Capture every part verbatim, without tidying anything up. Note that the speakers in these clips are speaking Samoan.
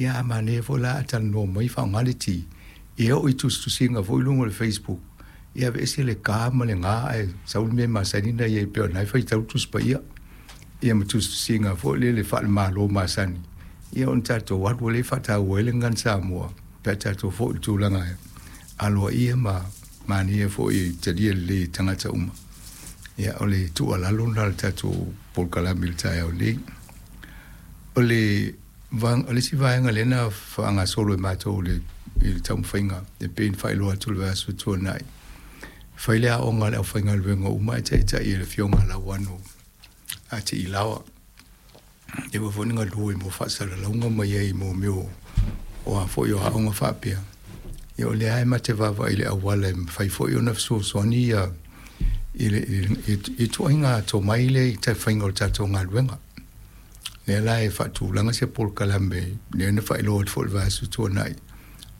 Ia a manaia foi la a talanoa mai faaaoga le T, ia oo i tusitusiga foi i luga o le Facebook, ia aveese le K ma le G ae sau le mea e masani ona i ai pei o lena e faitau le Tusi Paia. Ia ma tusitusiga foi lele faale-Malo masani, ia ona tatou alu ai lea e faataua ai le Gagana Samoa pe a tatou foi i le tulaga aloaia ma manaia foi e talia lelei e tagata uma. Ia, o le tuualalo lena o le tatou polokalame i le taeao nei. O le o le isi vaega lea na faagasolo e matou i le taumafaiga e pei ona faailoa atu i le vaiaso ua tuanai, fai le aoga a le aufaigaluega uma ae taitai e le Afioga ia Lauano a Tiilaoa, lea foi na galue mo faasalalauga ma i ai mo mea o a foi o aoga faapea. Ia o lea lava e ma te vaavaai i le auala e mafai foi ona fesoasoani ia i le ituaiga tomai lea i le faiga o le tatou galuega. Lea la e faatulaga se polokalame lea na faailoa atu foi i le vaiaso tuanai,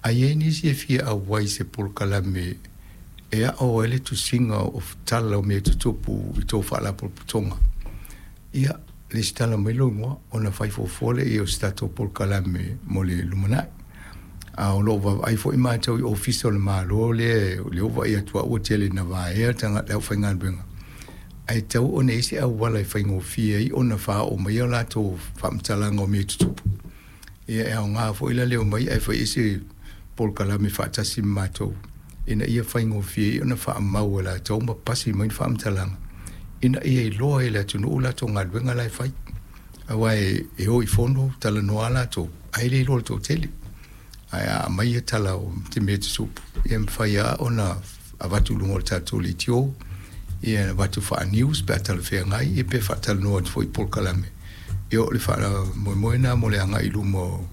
a i ai nisi e fia auai i se polokalame e ao ai le tusiga o tala o mea tutupu i tou faalapotopotoga, ia lesitala mai lou igoa ona fai fuafua lea o se tatou polokalame mo le lumanai. A o lo o vaavaai foi matou i ofisa o le Malo lea lea ua vaai atu ua tele ina vaea le aufaigaluega, ae tatau ona i ai se auala e faigofie ai ona faaoo mai a latou faamatalaga o mea tutupu. Ia e aoga foi la le omai ae fai ai se polokalame faatasi ma matou ina ia faigofie ai ona faamau e latou ma pasi mai ni faamatalaga ina ia iloa ai e le atunuu latou galuega la e fai. Aua e o i fono talanoa lava latou ae le iloa e le toatele. Ae a aumai tala o mea tutupu, ia e mafai lava ona avatu i luga o le tatou leitio, ia avatu faa-news pe a talafeagai, ia pe faatalanoa atu foi i polokalame. Ia o le faamoemoe lena mo le agai i luma o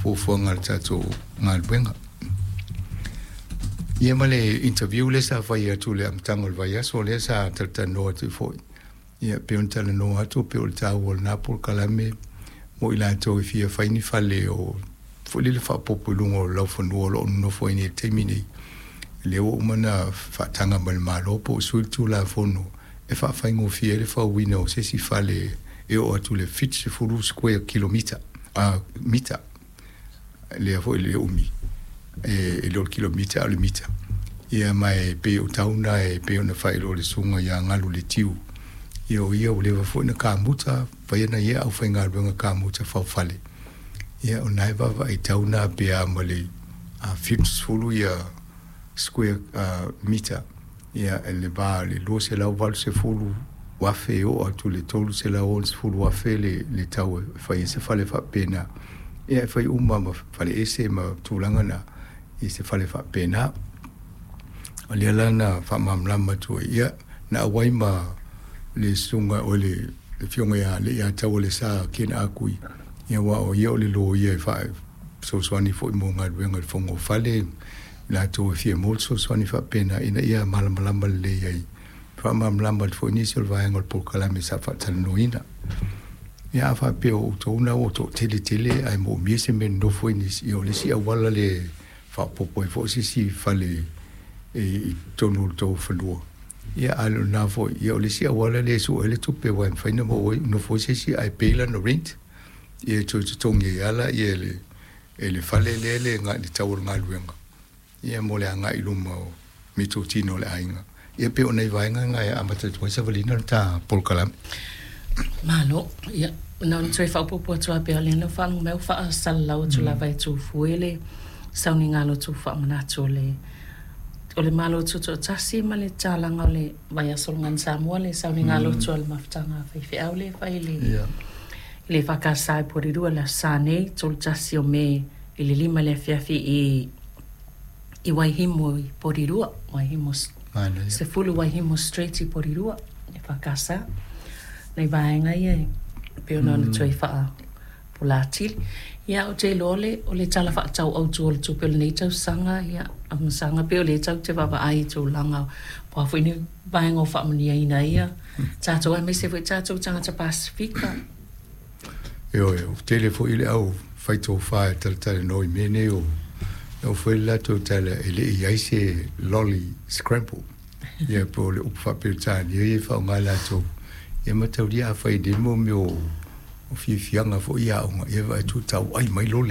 fuafuaga a le tatou galuega. Ia ma le interview lea sa fai atu i le amataga o le vaiaso lea sa talatalanoa atu foi. Ia pei ona talanoa atu pei o le taua o lena polokalame mo i latou e fia fai ni fale o foi lele faaopoopo i luga o laufanua o lo o nonofo ai nei i le taimi nei. Lea ua uma ona faataga mai e le Malo po o sui le Tulafono e faafaigofie ai le fauina o se isi fale e oo atu i le seventy square kilomita, uh, mita, lea foi le umi, e, e le o le kilomita a o le mita. Ia ma e pei o tau na e pei ona faailoa le susuga ia Galu le Tiu. Ia o ia ua leva foi na kamuta, fai ana ia aufaigaluega kamuta faufale. Ia o na e vaavaai tau na pe a ma le seventy ia square uh, mita. Ia e le va le two hundred eighty afe e oo atu le three sixty afe le, le tau e fai ai se fale faapena. Ia e fai uma ma fale ese ma tulaga na i se fale faapena. O lea la na faamalamalama atu ai, ia na auai ma le susuga o le le afioga ia le ia tau o le sa Ken Akui, ia aua o ia o le loia e faasoasoani foi mo galuega i le fono fale latou e fia maua le fesoasoani faapena ina ia malamalama lelei ai. Faamalamalama atu foi nisi o le vaega o le polokalame sa faatalanoaina. Ia a faapea o outou na ua toatele tele ae moomia se mea e nonofo ai nisi, ia o le isi auala le faaopoopo ai foi se isi fale e i totonu o le tou fanua. Ia a o lena foi, ia o le isi auala lea e sue ai le tupe aua e mafai ona maua ai nofo ai se isi ae pay lana rent. Ia e toe totogi ai lava ia le e le fale lea le le tau o le galuega ia mo le agai i luma o meatotino o le aiga. Ia pei o nai vaega na e amata atu ai savaliga le ta polokalame. Malo, ia, na ona toe faaopoopo atu lava pea o lea na faalogo mai ua faasalalau atu lava e Tufue le sauniga lotu faamanatu o le o le Malo Tutoatasi ma le tatalaga o le vaiaso o le Gagana Samoa le sauniga lotu a le mafutaga a faifeau lea e fai i le Ia. i le E F K S i Porirua le aso Sa nei, thirty-one o Me i le lima le afiafi i i Waihimo i Porirua, Waihimo Manaia. Sefulu Waihimo Street i Porirua, E F K S. Nei vaega ia e pei ona ona toe faapolatili. Ia ou te iloa le o le tala faatatau autu o le tupe o lenei tausaga ia amasaga pei o lea tatou te vaavaai i tulaga po o a foi ni vaega o faamanuiaina ia tatou aemaise foi tatou tagata Pasefika. Ioe, ua tele foi le au faitofa e talatalanoa i mea nei o o foi le latou tala e le i ai se lolly scramble. Ia po o le upu faa-Peretania ia e faaaoga latou. Ia mataulia a fai nei mo mea o o fiafiaga foi i aoga, ia vaai atu tau ai mai lole.